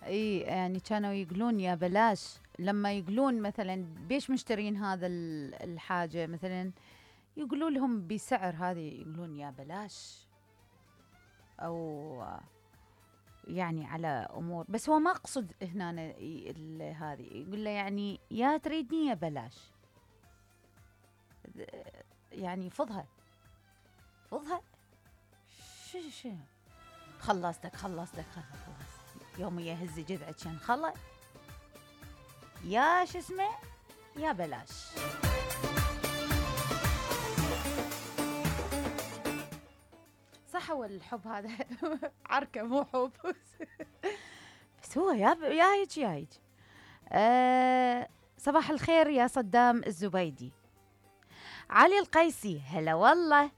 اي يعني كانوا يقولون يا بلاش، لما يقولون مثلا بيش مشترين هذا الحاجة مثلا، يقولوا لهم بسعر هذه يقولون يا بلاش، او يعني على امور، بس هو ما اقصد هنا هذه يقول له يعني يا تريدني يا بلاش، يعني فضها فضها. شو خلصتك خلص يوم يهز جذعك كان خلص يا شو اسمه يا بلاش. صح هو الحب هذا عركة مو حب بس هو يا هيك يا هيك. صباح الخير يا صدام الزبيدي. علي القيسي هلا والله.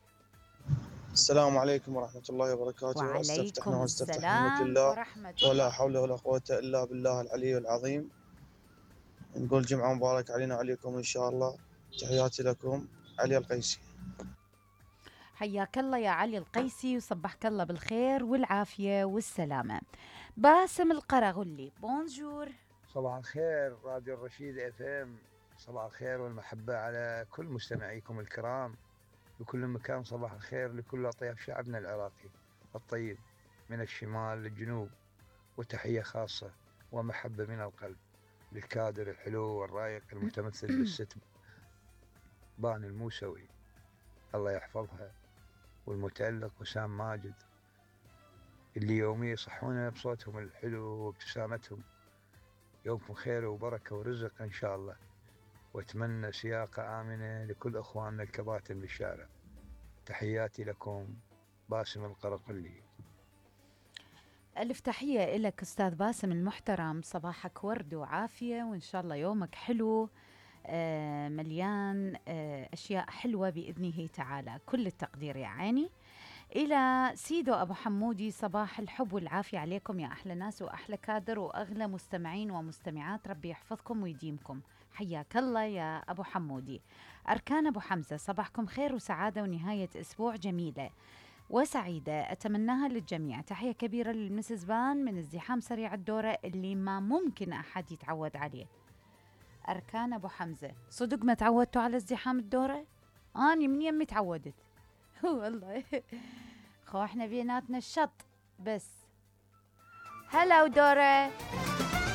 السلام عليكم ورحمة الله وبركاته. وعليكم واستفتح بنعمة السلام الله ورحمة الله. ولا حول ولا قوة إلا بالله العلي العظيم. نقول جمعة مبارك علينا وعليكم إن شاء الله. تحياتي لكم علي القيسي. حياك الله يا علي القيسي وصبحك الله بالخير والعافية والسلامة. باسم القرغلي بونجور. صباح الخير راديو الرشيد اف ام، صباح الخير والمحبة على كل مستمعيكم الكرام بكل مكان. صباح الخير لكل أطياف شعبنا العراقي الطيب من الشمال للجنوب، وتحية خاصة ومحبة من القلب للكادر الحلو والرايق المتمثل بالست بان الموسوي الله يحفظها، والمتألق وسام ماجد اللي يومي يصحونا بصوتهم الحلو وابتسامتهم. يومكم خير وبركة ورزق إن شاء الله، وأتمنى سياقة آمنة لكل أخواننا الكباتن بالشارع. تحياتي لكم باسم القرقلي. ألف تحية إلك أستاذ باسم المحترم، صباحك ورد وعافية وإن شاء الله يومك حلو مليان أشياء حلوة بإذنه تعالى. كل التقدير يا عيني. إلى سيدو أبو حمودي، صباح الحب والعافية عليكم يا أحلى ناس وأحلى كادر وأغلى مستمعين ومستمعات، ربي يحفظكم ويديمكم. حياك الله يا أبو حمودي. أركان أبو حمزة، صباحكم خير وسعادة ونهاية أسبوع جميلة وسعيدة أتمناها للجميع. تحية كبيرة للمسز بان من ازدحام سريع الدورة اللي ما ممكن أحد يتعود عليه. أركان أبو حمزة، صدق ما تعودتوا على ازدحام الدورة؟ أنا من يمي تعودت والله خو احنا بيناتنا الشط بس. هلا ودورة.